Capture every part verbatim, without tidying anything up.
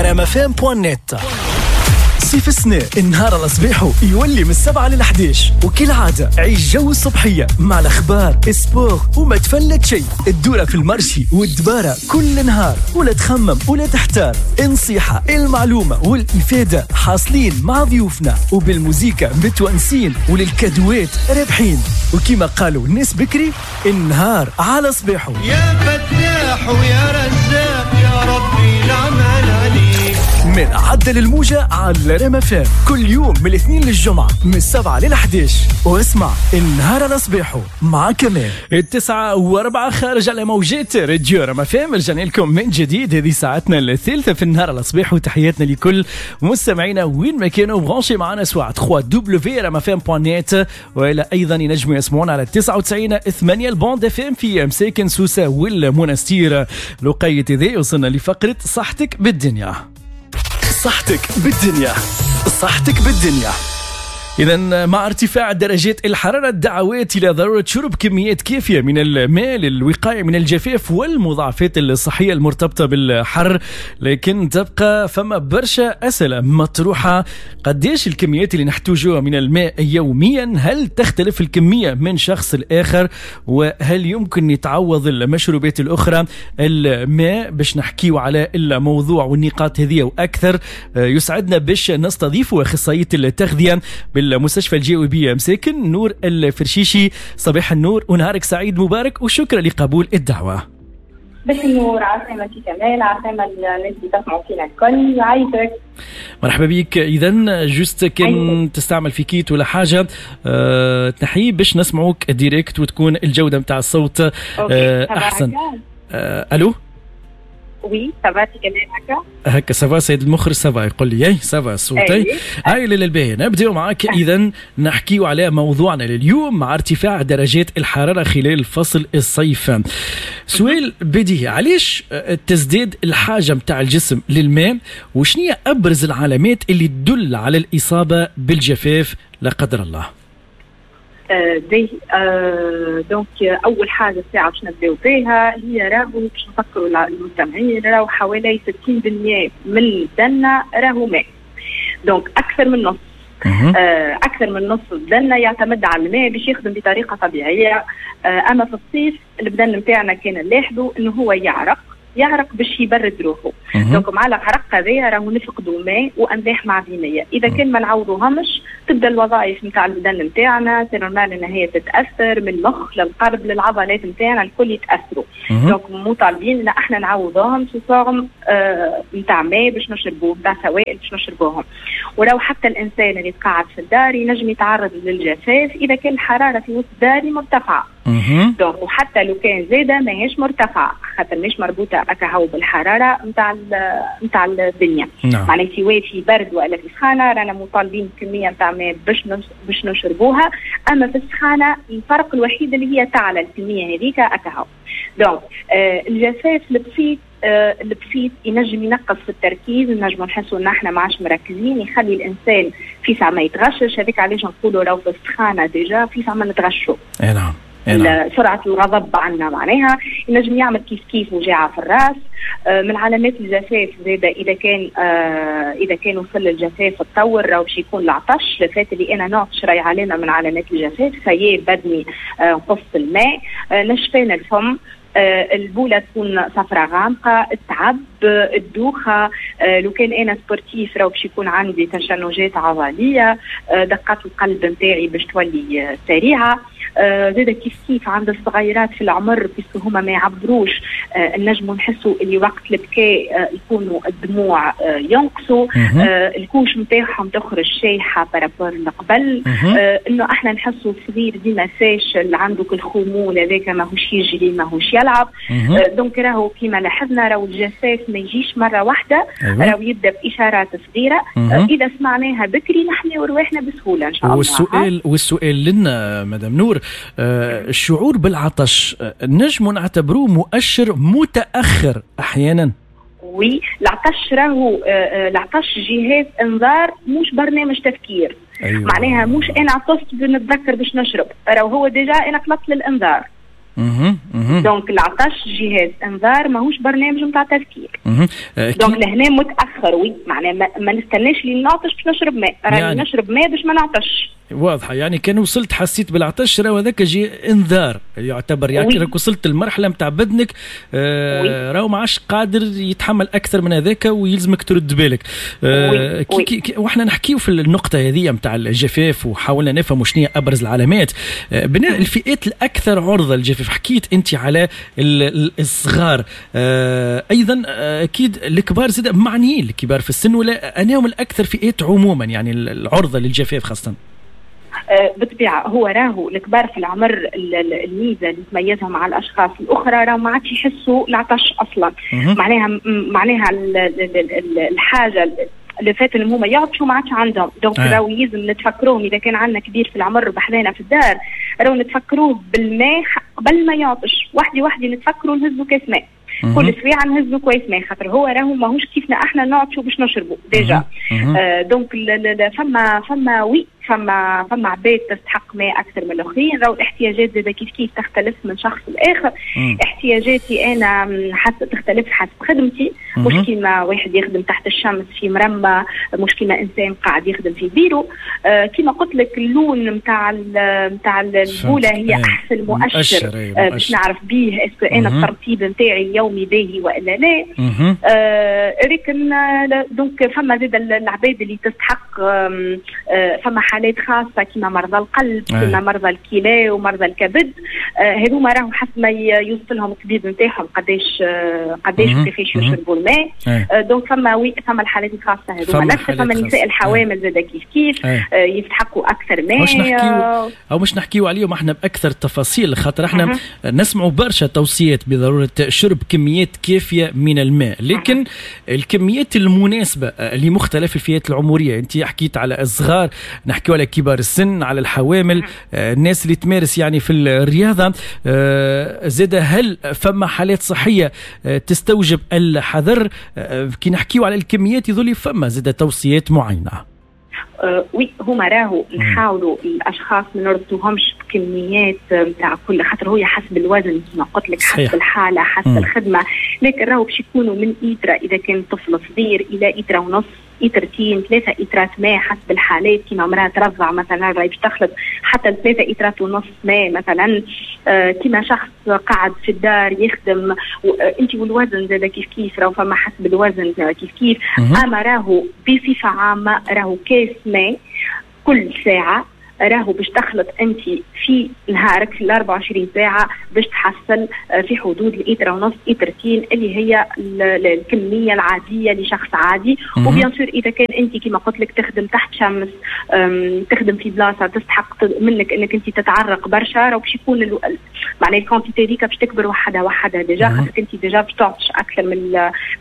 رام اف ام point net. صيف السنة النهار على صباحه يولي من السبعة للحداش، وكالعادة عيش جو الصبحية مع الأخبار sport وما تفلت شيء. الدورة في ال marché والدبارة كل نهار، ولا تخمم ولا تحتار. النصيحة المعلومة والإفادة حاصلين مع ضيوفنا، وبالموزيكا متونسين وللكادوات رابحين. وكما قالوا الناس بكري، النهار على صباحه. يا فتاح ويا رزاق يا ربي العمل عليك. من عدل الموجة على رام اف ام كل يوم من الاثنين للجمعة من السبعة للحداش، واسمع النهار على صباحه مع كمال. التسعة واربعة خارج على موجات راديو رام اف ام. رجعنا لكم من جديد، هذه ساعتنا الثالثة في النهار على صباحه، وتحياتنا لكل مستمعينا وين ما كانوا branchés معنا، سواء ثلاثة W رام اف ام point net، وإلى أيضا ينجموا يسمعونا على تسعة وتسعين ثمانية ال bande FM في مساكن سوسة والمنستير. لقيت ذي وصلنا لفقرة صحتك بالدنيا. صحتك بالدنيا، صحتك بالدنيا. إذا مع ارتفاع درجات الحرارة، الدعوات إلى ضرورة شرب كميات كافية من الماء للوقاية من الجفاف والمضاعفات الصحية المرتبطة بالحر، لكن تبقى فما برشا أسئلة مطروحة. قديش الكميات اللي نحتاجوها من الماء يوميا؟ هل تختلف الكمية من شخص لآخر؟ وهل يمكن يتعوض المشروبات الأخرى الماء؟ باش نحكيو على الموضوع والنقاط هذه وأكثر، يسعدنا باش نستضيف أخصائية التغذية بال المستشفى الجوي مساكن نور الفرشيشي. صباح النور ونهارك سعيد مبارك، وشكرا لقبول الدعوة. صباح النور، عسلامة كمال، عسلامة الناس اللي تسمعوا فينا الكل، عايشك. مرحبا بك. اذا juste كان تستعمل في kit ولا حاجة أه تنحيه باش نسمعوك direct وتكون الجودة نتاع الصوت أه احسن. أه الو oui ça va كمال هكا هكا ça va سيد المخرج ça va يقول لي اي ça va الصوت. هاي للباهي نبداو معاك. اذا نحكيو على موضوعنا لليوم مع ارتفاع درجات الحرارة خلال فصل الصيف. سؤال بديهي، علاش تزداد الحاجة متاع الجسم للماء؟ وشنية ابرز العلامات اللي تدل على الاصابة بالجفاف لا قدر الله؟ دي آه donc اول حاجة الساعة باش نبداو بها هي راهو باش نفكروا المستمعين، راهو حوالي ستين بالمئة من بدنا راهو ماء، donc اكثر من نص آه اكثر من نص بدنا يعتمد على الماء باش يخدم بطريقة طبيعية. آه اما في الصيف البدن نتاعنا كان نلاحظوا انه هو يعرق يعرق باش يبرد روحه، donc مع العرق هذايا راهو نفقدوا ماء واملاح معدنية. اذا كان ما نعوضوهمش تبدا الوظائف نتاع البدن نتاعنا c'est normal ان هي تتاثر، من المخ للقلب للعضلات نتاعنا الكل يتاثروا. donc مطالبين ان احنا نعوضوهم sous forme نتاع ماء باش نشربوه، نتاع سوائل باش نشربوهم. ولو حتى الانسان اللي تقعد في الدار ينجم يتعرض للجفاف اذا كان الحرارة في وسط داري مرتفعة. donc وحتى لو كان زاده ماهيش مرتفعة، خاطر ماهيش مربوطة اكاهو بالحرارة نتاع نتاع الدنيا. نعم. معناها سواء في برد ولا في سخانه رانا مطالبين بكمية نتاع ماء باش باش نشربوها. اما في السخانه الفرق الوحيد اللي هي تعلى الكمية هذيك اكاهو. donc آه الجفاف البسيط آه البسيط ينجم ينقص في التركيز، نجم نحسوا ان احنا ما عادش مركزين، يخلي الانسان في ساعة ما يتغشش. هذيك علاش نقولوا لو في السخانه déjà في ساعة ما نتغشوا. اي نعم. سرعة الغضب عندنا معناها ينجم يعمل كيف كيف وجاعة في الراس. آه من علامات الجفاف زادة إذا كان آه إذا كان وصل الجفاف تطور راهو باش يكون العطش. الفات اللي أنا نعطش راهي علامة من علامات الجفاف، فيا بدني آه نقص الماء، آه نشفان الفم، آه البولة تكون صفراء غامقة، التعب، الدوخة. آه لو كان أنا sportif راهو باش يكون عندي تشنجات عضلية، آه دقات القلب نتاعي باش تولي سريعة. آه زاد كيف كيف عند الصغيرات في العمر puisque هما ما يعبروش، آه نجموا نحسوا اللي وقت البكاء آه يكونوا الدموع آه ينقصوا، آه ال couche نتاعهم تخرج شايحه par rapport لقبل. آه انه احنا نحسوا الصغير ديما فاشل، عنده الخمول هذاك ماهوش يجري ماهوش يلعب. آه donc راهو كيما لاحظنا راهو الجفاف ما يجيش مرة واحدة، راهو يبدا باشارات صغيرة. آه اذا سمعناها بكري نحميو رواحنا بسهولة ان شاء الله. والسؤال والسؤال لنا مدام نور، الشعور بالعطش نجم نعتبروه مؤشر متأخر أحيانا؟ oui العطش راهو العطش جهاز انذار مش برنامج تفكير. أيوة. معناها مش انا عطشت بنتذكر باش نشرب، راهو هو déjà انا خلطت للانذار. donc العطش جهاز انذار، ماهوش برنامج نتاع تذكير. donc لهنا متاخر oui، معناها ما, ما نستناش لي نعطش باش نشرب ماء، راني يعني نشرب ماء باش ما نعطش. واضحة، يعني كان وصلت حسيت بالعطش راهو هذاك جي انذار يعتبر، يعني راك وصلت المرحلة نتاع بدنك آه راهو ما عادش قادر يتحمل اكثر من هذاك ويلزمك ترد بالك. آه كي كي كي واحنا نحكيو في النقطة هذه نتاع الجفاف وحاولنا نفهموا شنو هي ابرز العلامات. آه الفئات الاكثر عرضه للجفاف، حكيت انت على الصغار، آه ايضا اكيد الكبار زاد معنيين، الكبار في السن ولا انهم الاكثر فئات عموما يعني العرضة للجفاف خاصة؟ بالطبيعة هو راهو الكبار في العمر الميزة اللي تميزهم على الاشخاص الاخرى راهو ما عادش يحسوا العطش اصلا. معناها معناها الحاجة اللي فات اللي هما يعطشوا ما عادش عندهم. donc راهو لازم نتفكروهم اذا كان عندنا كبير في العمر بحذانا في الدار، راهو نتفكروه بالماء قبل ما يعطش، وحدي وحدي نتفكروا نهزوا كاس ماء كل سويعه، نهزوا كويس ماء، خاطر هو راهو ماهوش كيفنا احنا نعطشوا باش نشربوا déjà. آه donc فما فما oui فما فما عباد تستحق ماء اكثر من الاخرين. راهو الاحتياجات زاده كيف كيف تختلف من شخص لاخر. احتياجاتي انا حسب تختلف حسب خدمتي، مش كيما واحد يخدم تحت الشمس في مرمى، مش كيما انسان قاعد يخدم في بيرو. آه كيما قلت لك اللون نتاع نتاع البوله هي احسن مؤشر آه باش نعرف بيه est-ce que انا الترطيب نتاعي اليومي باهي والا لا. آه لكن donc فما زاد العباد اللي تستحق، آه فما حالات خاصة كيما مرضى القلب، كيما مرضى الكلى ومرضى الكبد، هذوما راهو حسب ما يوصل لهم الطبيب نتاعهم قداش قداش كيفاش يشربوا الماء. donc فما oui فما الحالات الخاصة هذوما، فما النساء الحوامل زاد كيف كيف يستحقوا اكثر ماء. مش نحكيو او مش نحكيو عليهم احنا باكثر تفاصيل، خاطر احنا نسمعوا برشا توصيات بضرورة شرب كميات كافيه من الماء، لكن الكميات المناسبة لمختلف الفئات العمرية، انت حكيت على الصغار، نحكيو على كبار السن، على الحوامل، الناس اللي تمارس يعني في الرياضة، زاد هل فما حالات صحية تستوجب الحذر؟ كي نحكيو على الكميات يظل فما زاد توصيات معينة. أه oui هما راهو نحاولوا الاشخاص ما نربطوهمش بكميات نتاع كل، خاطر هو حسب الوزن كما قلت لك، حسب الحالة، حسب مم. الخدمة، لكن راهو باش يكونوا من إيترا اذا كان طفل صغير الى إيترا ونص، إيترتين، ثلاثة إيترات ماء حسب الحالات. كيما امرأة ترضع مثلا راهي باش تخلط حتى ثلاثة إيترات ونص ماء مثلا. آه كيما شخص قاعد في الدار يخدم، انت والوزن زاد كيف كيف، راهو فما حسب الوزن كيف كيف. اما راهو بصفة عامة راهو كاس ماء كل ساعة راهو باش تخلط انت في نهارك في ال أربعة وعشرين ساعة باش تحصل في حدود الايتر ونص ايترتين اللي هي الكمية العادية لشخص عادي. و bien sûr اذا كان انت كما قلت لك تخدم تحت شمس، تخدم في بلاصة تستحق منك انك انت تتعرق برشا، راهو باش يكون معناها ال quantité هذيك باش تكبر وحدها وحدها déjà، خاطرك انت déjà باش تعطش اكثر من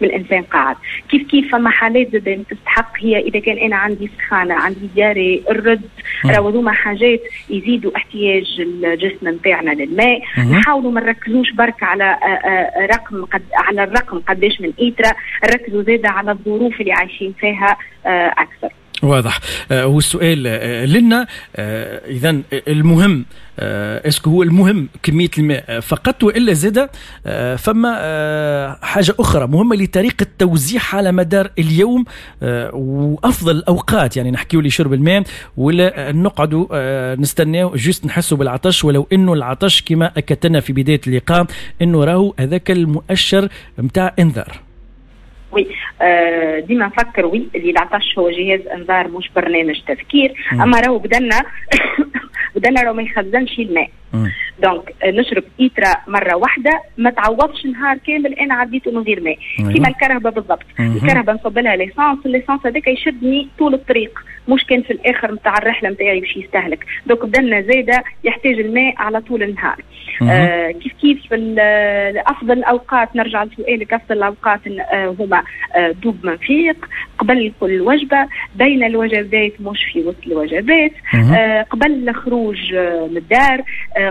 من الانسان قاعد. كيف كيف فما حالات زاد تستحق، هي اذا كان انا عندي سخانه، عندي diarrhée، الرد، راهو هذوما حاجات يزيدوا احتياج الجسم نتاعنا للماء. نحاولوا ما نركزوش برك على رقم قد على الرقم قداش من إيترا، نركزوا زاده على الظروف اللي عايشين فيها اكثر. واضح. والسؤال لنا اذا المهم، est-ce que هو المهم كمية الماء فقط والا زاد فما حاجة اخرى مهمة لطريقه توزيعها على مدار اليوم وافضل الاوقات؟ يعني نحكيو لشرب الماء ولا نقعدوا نستناو juste نحسوا بالعطش، ولو انه العطش كما اكدتنا في بداية اللقاء انه راهو هذاك المؤشر نتاع انذار. oui آه ديما نفكر oui اللي العطش هو جهاز انذار مش برنامج تذكير. اما راهو بدنا بدنا راهو ما يخزنش الماء. donc نشرب إيترا مرة واحدة ما تعوضش نهار كامل انا عديته من غير ماء. كيما الكرهبه بالضبط، الكرهبه نصب لها l'essence، l'essence هذاك يشدني طول الطريق، مش كان في الاخر نتاع الرحلة نتاعي باش يستهلك. donc بدنا زاده يحتاج الماء على طول النهار. آه كيف كيف افضل الاوقات، نرجع لسؤالك، افضل الاوقات آه هما آه دوب ما نفيق، قبل كل وجبة، بين الوجبات مش في وسط الوجبات، آه قبل الخروج آه من الدار،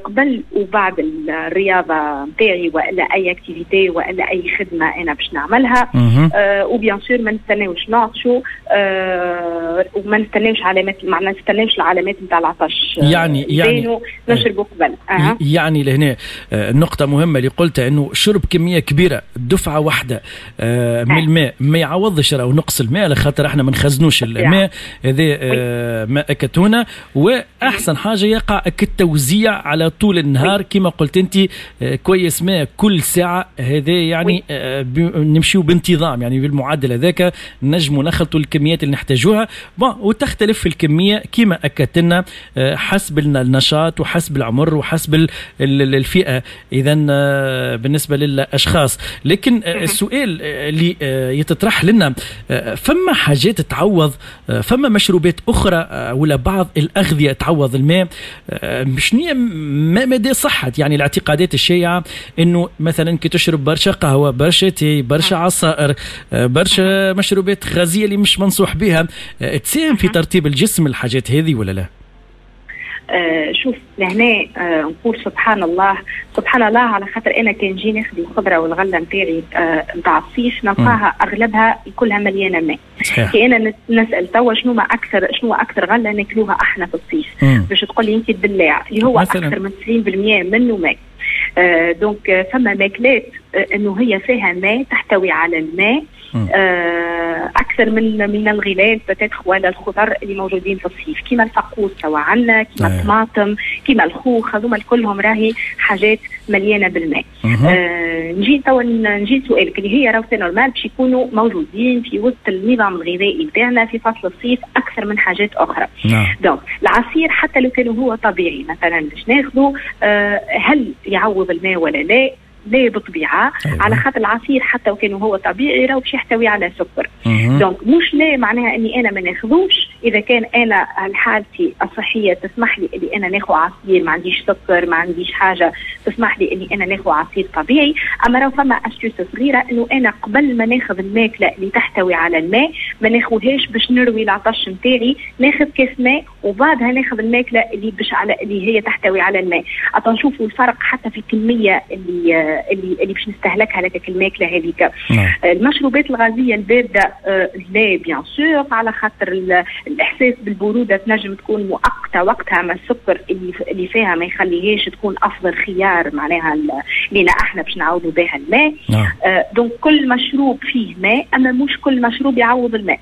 قبل وبعد الرياضة نتاعي والا اي activité والا اي خدمة انا باش نعملها. آه و bien sûr ما نستناوش نعطشوا، آه وما نستناوش علامات، ما نستناوش العلامات نتاع العطش، يعني يعني نشربوا قبل. أه. يعني لهنا النقطة مهمة اللي قلتها، انه شرب كمية كبيرة دفعه واحدة آه من الماء ما يعوضش راهو نقص الماء، على خاطر احنا ما نخزنوش الماء هذا آه ما اكتونا. واحسن حاجة يقع التوزيع على طول النهار كما قلت انت، كويس ماء كل ساعة، هذا يعني نمشيو بانتظام، يعني بالمعدل هذاك نجموا نخلطوا الكميات اللي نحتاجوها. bon وتختلف في الكمية كما اكدت لنا حسب النشاط وحسب العمر وحسب الفئة اذا بالنسبة للاشخاص. لكن السؤال اللي يتطرح لنا، فما حاجات تعوض، فما مشروبات اخرى ولا بعض الاغذية تعوض الماء؟ شنو ما مدى صحة يعني الاعتقادات الشائعة انه مثلا كي تشرب برشا قهوة، برشا تاي، برشا عصائر، برشا مشروبات غازية اللي مش منصوح بها، تساهم في ترطيب الجسم الحاجات هذه ولا لا؟ آه شوف لهنا آه نقول سبحان الله، سبحان الله، على خاطر انا كان نجي ناخذ الخضرة والغلة نتاعي نتاع آه الصيف نلقاها اغلبها كلها مليانة ماء. كي انا نسال توا شنو ما اكثر شنو اكثر غله ناكلوها احنا في الصيف، باش تقول لي انت الدلاع اللي هو مثلاً اكثر من تسعين بالمية منه ماء. آه donc فما ماكلات آه انه هي فيها ماء، تحتوي على الماء آه اكثر من من الغلال peut-être ولا الخضر اللي موجودين في الصيف، كيما الفقوس توا عندنا، كيما الطماطم، كيما الخوخ، هذوما كلهم راهي حاجات مليانة بالماء. آه نجي توا نجي سؤالك اللي هي راهو c'est normal باش يكونوا موجودين في وسط النظام الغذائي نتاعنا في فصل الصيف اكثر من حاجات اخرى. donc العصير حتى لو كان هو طبيعي مثلا باش ناخذه، آه هل يعوض الماء ولا لا؟ لا بالطبيعة. أيوة. على خاطر العصير حتى وكان هو طبيعي راهو باش يحتوي على سكر. donc مش لا معناها اني انا ما ناخذوش، اذا كان انا حالتي الصحية تسمح لي اني انا ناخذ عصير، ما عنديش سكر، ما عنديش حاجة تسمح لي اني انا ناخذ عصير طبيعي. اما راهو فما astuce صغيرة، انه انا قبل ما ناخذ الماكلة اللي تحتوي على الماء ما ناخذهاش باش نروي العطش نتاعي، ناخذ كاس ماء وبعدها ناخذ الماكلة اللي باش على اللي هي تحتوي على الماء. أتو نشوفوا الفرق حتى في الكمية اللي اللي اللي باش نستهلكها لك الماكلة هذيك. المشروبات الغازية البارده لا bien sûr، على خاطر الاحساس بالبروده تنجم تكون مؤقتة وقتها، ما السكر اللي اللي فيها ما يخليهاش تكون افضل خيار معناها لينا احنا باش نعوضوا بها الماء. donc كل مشروب فيه ماء، اما مش كل مشروب يعوض الماء.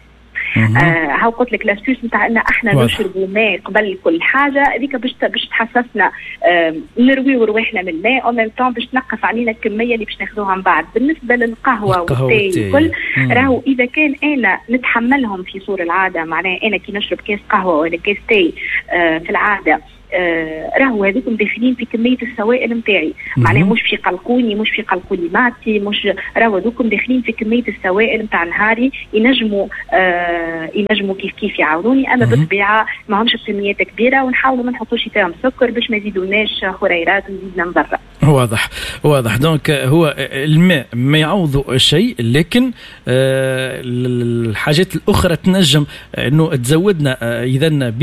آه هاو قلت لك l'astuce نتاع ان احنا نشربوا ماء قبل كل حاجة، هذيك باش باش تحسسنا آه نرويو رواحنا من الماء، au même temps باش تنقص علينا الكمية اللي باش ناخذوها من بعد. بالنسبة للقهوة والتاي الكل، راهو اذا كان انا نتحملهم في صور العادة، معناها انا كي نشرب كاس قهوة ولا كاس تاي آه في العادة، آه راهو هذوكم داخلين في كمية السوائل نتاعي، معناها مش في قلقوني، مش في قلقوني معدتي، مش راهو هذوكم داخلين في كمية السوائل نتاع نهاري، ينجموا آه ينجموا كيف كيف يعاونوني، اما بالطبيعة ما همش بكميات كبيرة، ونحاولوا ما نحطوش فيهم سكر باش ما يزيدوناش خريرات ويزيدنا مضرة. واضح واضح. donc هو الماء ما يعوض شيء، لكن آه الحاجات الاخرى تنجم انه تزودنا آه اذا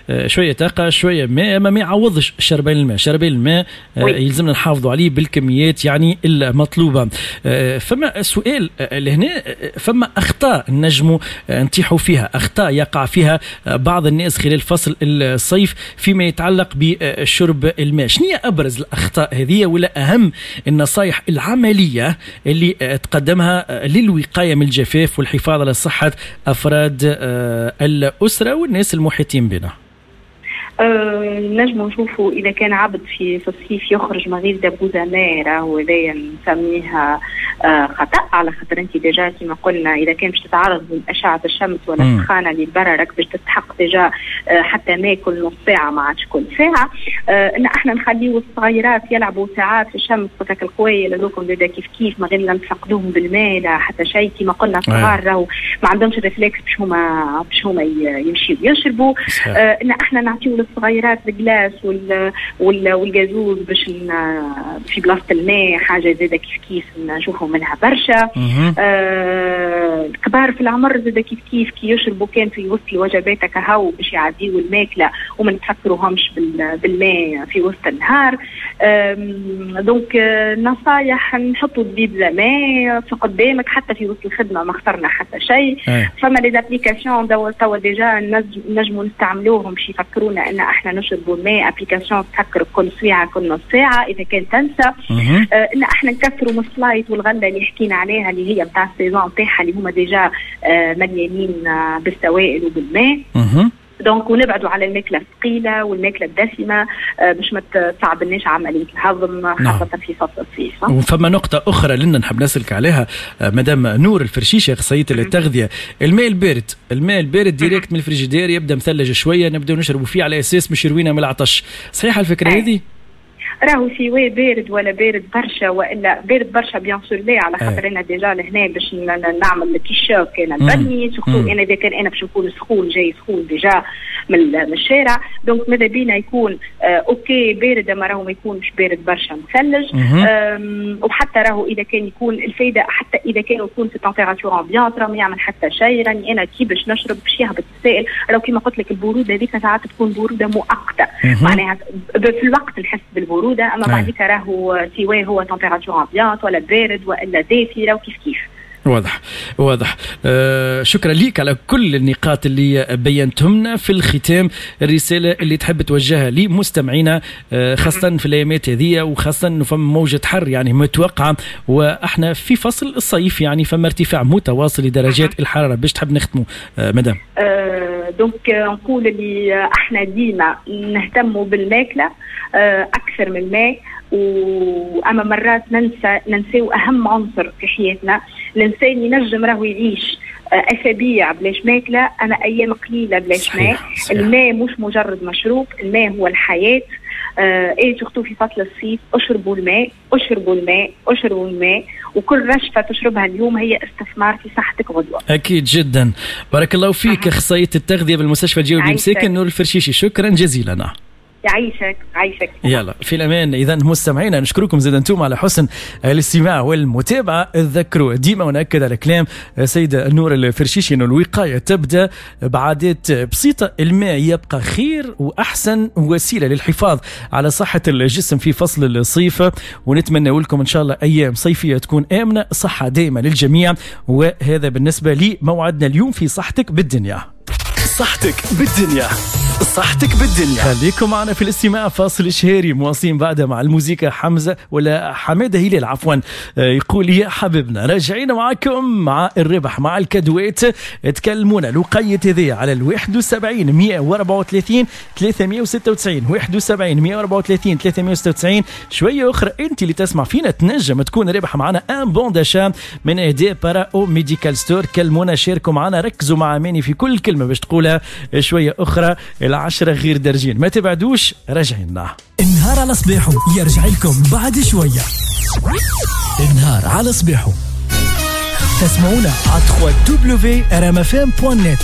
بشوية طاقة، شوية ماء، ما يعوضش شربين الماء. شربين الماء آه يلزمنا نحافظوا عليه بالكميات يعني المطلوبة. آه فما سؤال لهنا، فما اخطاء نجموا نطيحوا فيها، اخطاء يقع فيها بعض الناس خلال فصل الصيف فيما يتعلق بشرب الماء. شنو هي ابرز الاخطاء هذه ولا اهم النصائح العملية اللي تقدمها للوقايه من الجفاف والحفاظ على صحة افراد الاسرة والناس المحيطين بنا؟ أه نجمو نشوفوا إذا كان عبد في في الصيف يخرج من غير دبوزة ماء، راهو هذايا نسميها أه خطأ، على خاطر أنت déjà كما قلنا إذا كان باش تتعرض لأشعة الشمس ولا السخانة اللي برا راك باش تستحق déjà أه حتى ماء كل نص ساعة ما عادش كل ساعة. أه إن احنا نخليو الصغيرات يلعبوا ساعات في الشمس وتاك القوية هذوكم déjà كيف كيف ما غير لا نفقدوهم بالماء لا حتى شيء. كما قلنا الصغار راهو ما عندهمش réflexe باش هما باش هما يمشيو يشربوا. أه إن احنا نعطيو الصغيرات ال glace وال والجازوز باش في بلاصة الماء، حاجة زاده كيف كيف نشوفوا منها برشا. آه الكبار في العمر زاده كيف كيف كي يشربوا كان في وسط الوجبات كهو باش يعديوا الماكلة وما نتفكروهمش بالماء في وسط النهار. donc نصايح، نحطوا دبيب ماء في قدامك حتى في وسط الخدمه، ما خسرنا حتى شيء. فما les applications توا déjà نجموا نستعملوهم باش يفكرونا ان احنا نشربوا الماء، application تفكر كل ساعة كل نص ساعة اذا كان تنسى. آه ان احنا نكثروا من السلايط والغلة اللي حكينا عليها اللي هي نتاع ال saison نتاعها اللي هما déjà آه مليانين آه بالسوائل وبالماء. donc ونبعدوا على الماكلة الثقيلة والماكله الدسمة باش ما تصعبلناش عملية الهضم خاصة نعم. في فصل الصيف. وفما نقطة اخرى لنا نحب نسالك عليها مدام نور الفرشيشه اخصائية التغذيه، الماء البارد، الماء البارد direct من الفريجيدير يبدا مثلج شوية نبداو نشربوا فيه على اساس باش يروينا من العطش، صحيحه الفكرة هذه؟ راهو سواء بارد ولا بارد برشا والا بارد برشا bien sûr لا، على خاطر انا déjà لهنا باش نعمل كي choc انا البدني، surtout انا اذا كان انا باش نكون سخون جاي سخون déjà من الشارع، donc ماذا بينا يكون آه OK بارد، اما راهو ما يكونش بارد برشا مثلج. وحتى راهو اذا كان يكون الفايدة حتى اذا كان يكون في température ambiante راهو ما يعمل حتى شيء. راني انا كي باش نشرب باش يهبط السائل، راهو كيما قلت لك البرودة هذيك ساعات تكون برودة مؤقتة، معناها في الوقت نحس بالبروده، اما بعديك راهو سواء هو température ambiante ولا بارد والا دافي راهو كيف كيف. واضح واضح. آه شكرا ليك على كل النقاط اللي بينتهمنا. في الختام الرسالة اللي تحب توجهها لمستمعينا آه خاصة في الأيامات هذه، وخاصة أنه فما موجة حر يعني متوقعة وإحنا في فصل الصيف، يعني فما ارتفاع متواصل لدرجات الحرارة، باش تحب نختموا آه مدام؟ آه donc نقول اللي احنا ديما نهتموا بالماكلة آه أكثر من الماء، واما مرات ننسى ننساو اهم عنصر في حياتنا. الانسان ينجم راهو يعيش اسابيع بلاش ماكله، اما ايام قليله بلاش ماء. الماء مش مجرد مشروب، الماء هو الحياة. آه et surtout في فصل الصيف اشربوا الماء، اشربوا الماء، اشربوا الماء، وكل رشفه تشربها اليوم هي استثمار في صحتك غدوه. اكيد جدا. بارك الله فيك اخصائية التغذية بالمستشفى الجهوي بمساكن نور الفرشيشي، شكرا جزيلا. يعيشك عايشك. يلا في الامان. اذا مستمعينا نشكركم زاد انتم على حسن الاستماع والمتابعة. تذكروا ديما ونأكد على كلام سيده نور الفرشيشي انه الوقاية تبدا بعادات بسيطة، الماء يبقى خير واحسن وسيلة للحفاظ على صحة الجسم في فصل الصيف، ونتمنى لكم ان شاء الله ايام صيفية تكون امنه، صحة دائمة للجميع. وهذا بالنسبة لموعدنا اليوم في صحتك بالدنيا. صحتك بالدنيا، صحتك بالدنيا. خليكم معنا في الاستماع. فاصل إشهاري مواصلين بعدها مع الموسيقى حمزة ولا حمادة هلال عفوا يقول يا حبيبنا. راجعين معكم مع الربح مع الكدوات. تكلمونا الوقيت هذه على الواحد وسبعين مئة وأربعة وثلاثين ثلاثمئة وستة وتسعين، واحد وسبعين مئة وأربعة وثلاثين ثلاثمئة وستة وتسعين. شوية أخرى أنت اللي تسمع فينا تنجم تكون ربح معنا un bon d'achat من إهداء باراو ميديكال ستور. كلمونا، شاركوا معنا، ركزوا مع أماني في كل كلمة باش تقولها شوية أخرى. العشرة غير درجين، ما تبعدوش، راجعينا. النهار على صباحه يرجع لكم بعد شوية. النهار على صباحه تسمعونا على دبليو دبليو دبليو دوت آر إم إف إم دوت نت.